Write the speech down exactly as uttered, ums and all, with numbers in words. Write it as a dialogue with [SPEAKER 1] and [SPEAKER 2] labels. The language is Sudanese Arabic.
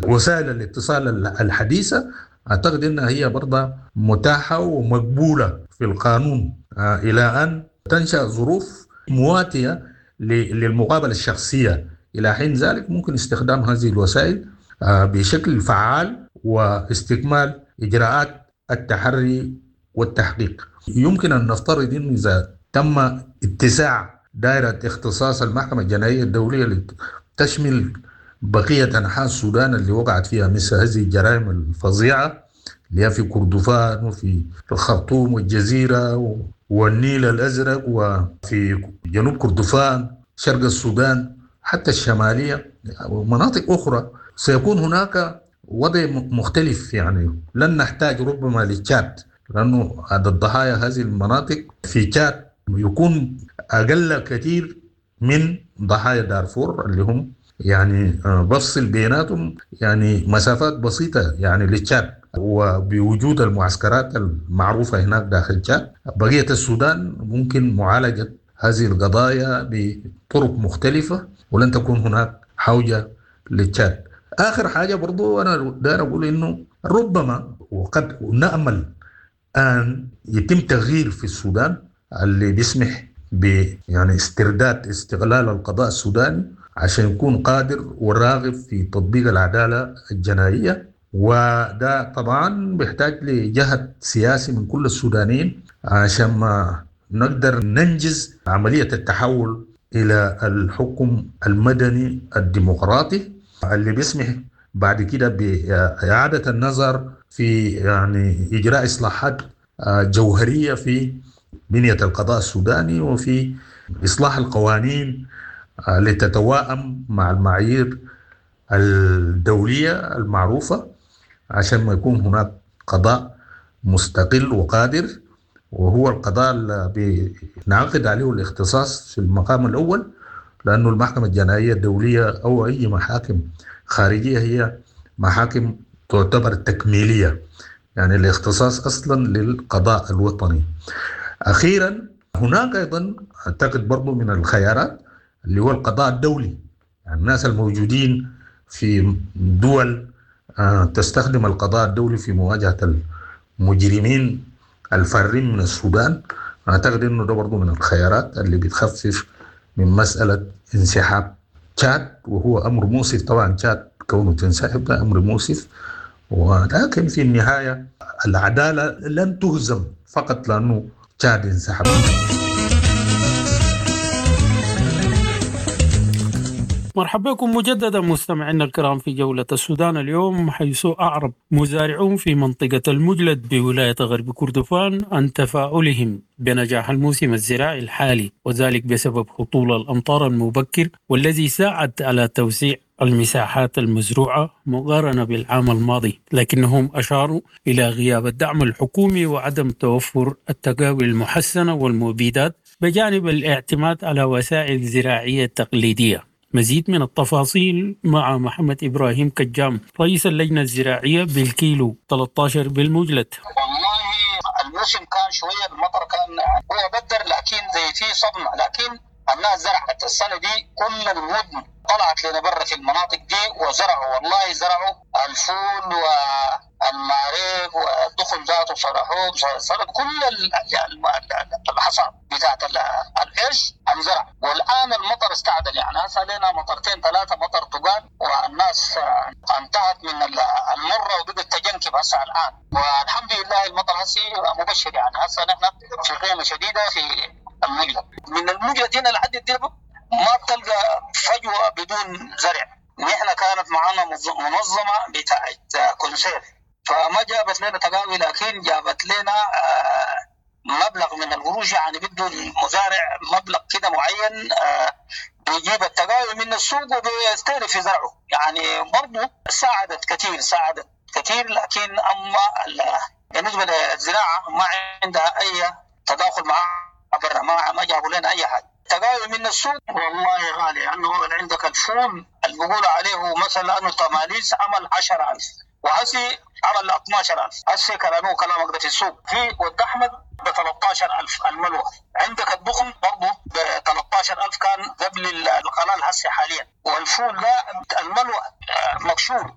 [SPEAKER 1] وسائل الاتصال الحديثة أعتقد أنها هي برضه متاحة ومقبولة في القانون إلى أن تنشأ ظروف مواتية للمقابلة الشخصية. إلى حين ذلك ممكن استخدام هذه الوسائل بشكل فعال واستكمال إجراءات التحري والتحقيق. يمكن أن نفترض أن إذا تم اتساع دائرة اختصاص المحكمة الجنائية الدولية لتشمل بقية أنحاء السودان اللي وقعت فيها مثل هذه الجرائم الفظيعة اللي هي في كردفان وفي الخرطوم والجزيرة والنيل الأزرق وفي جنوب كردفان، شرق السودان، حتى الشمالية ومناطق أخرى، سيكون هناك وضع مختلف. يعني لن نحتاج ربما لتشاد، لأنه عدد ضحايا هذه المناطق في تشاد يكون أقل كثير من ضحايا دارفور اللي هم يعني بفصل بيناتهم يعني مسافات بسيطة يعني لتشاد، وبوجود المعسكرات المعروفة هناك داخل تشاد. بقية السودان ممكن معالجة هذه القضايا بطرق مختلفة ولن تكون هناك حوجة لتشاد. آخر حاجة برضو أنا داير أقول إنه ربما وقد نأمل أن يتم تغيير في السودان اللي بيسمح ب يعني استرداد استغلال القضاء السوداني عشان يكون قادر وراغب في تطبيق العدالة الجنائية، وده طبعا بيحتاج لجهد سياسي من كل السودانيين عشان ما نقدر ننجز عملية التحول إلى الحكم المدني الديمقراطي اللي بيسمح بعد كده بإعادة النظر في يعني إجراء إصلاحات جوهرية في بنية القضاء السوداني وفي إصلاح القوانين لتتواءم مع المعايير الدولية المعروفة عشان ما يكون هناك قضاء مستقل وقادر، وهو القضاء اللي بنعقد عليه الاختصاص في المقام الأول، لأنه المحكمة الجنائية الدولية أو أي محاكم خارجية هي محاكم تعتبر تكميلية، يعني الاختصاص أصلا للقضاء الوطني. أخيرا هناك أيضا أعتقد برضو من الخيارات اللي هو القضاء الدولي، يعني الناس الموجودين في دول تستخدم القضاء الدولي في مواجهة المجرمين الفارين من السودان، أعتقد أنه ده برضو من الخيارات اللي بتخفف من مسألة انسحاب تشاد، وهو أمر مؤسف طبعا. تشاد كونه تنسحب ده أمر مؤسف، ولكن في النهاية العدالة لن تهزم فقط لأنه تشاد انسحب.
[SPEAKER 2] مرحبا بكم مجددا مستمعينا الكرام في جولة السودان اليوم، حيث أعرب مزارعون في منطقة المجلد بولاية غرب كردفان عن تفاؤلهم بنجاح الموسم الزراعي الحالي، وذلك بسبب هطول الأمطار المبكر والذي ساعد على توسيع المساحات المزروعة مقارنة بالعام الماضي، لكنهم أشاروا إلى غياب الدعم الحكومي وعدم توفر التقاوي المحسنة والمبيدات بجانب الاعتماد على وسائل زراعية تقليدية. مزيد من التفاصيل مع محمد إبراهيم كجام رئيس اللجنة الزراعية بالكيلو ثلاثة عشر بالمجلد.
[SPEAKER 3] والله الموسم كان شوية المطر كان هو بدر، لكن زي في صدمة، لكن الناس زرعت السنة دي كل المدن طلعت لنا برا في المناطق دي وزرعوا، والله زرعوا الفول والمعريق والدخن ذاته صرحوه صرح كل الحصاد بتاعت القرش انزرع. والان المطر استعدل، يعني هسه لنا مطرتين ثلاثه مطر تقال والناس انتهت من المره وبدت تجنكب هسه الان، والحمد لله المطر هسه مبشر، يعني هسه نحن في قيمه شديده في المجلد. من المجلد هنا لحد الدرب ما بتلقى فجوة بدون زرع. نحن كانت معنا منظمة بتاعت كونسير، فما جابت لنا تقاوي، لكن جابت لنا مبلغ من القروش، يعني بده المزارع مبلغ كده معين بيجيب التقاوي من السوق وبيستهلك في زرعه، يعني برضه ساعدت كثير ساعدت كثير. لكن أما بالنسبة للزراعة ما عندها أي تداخل مع برا، ما ما جابوا لنا أي حاجة. تقاوي من السوق والله غالي، لأنه يعني عندك الفول اللي بيقولوا عليه مثلا أنه تماليس عمل عشرة ألف وهسي عمل اثنا عشر ألف، هسي كلامه كلامك ده في السوق. في ود أحمد ب ثلاثة عشر ألف الملوى، عندك الدخن برضه ب ثلاثة عشر ألف كان قبل القلال هسي حاليا. والفول ده الملوى مكشور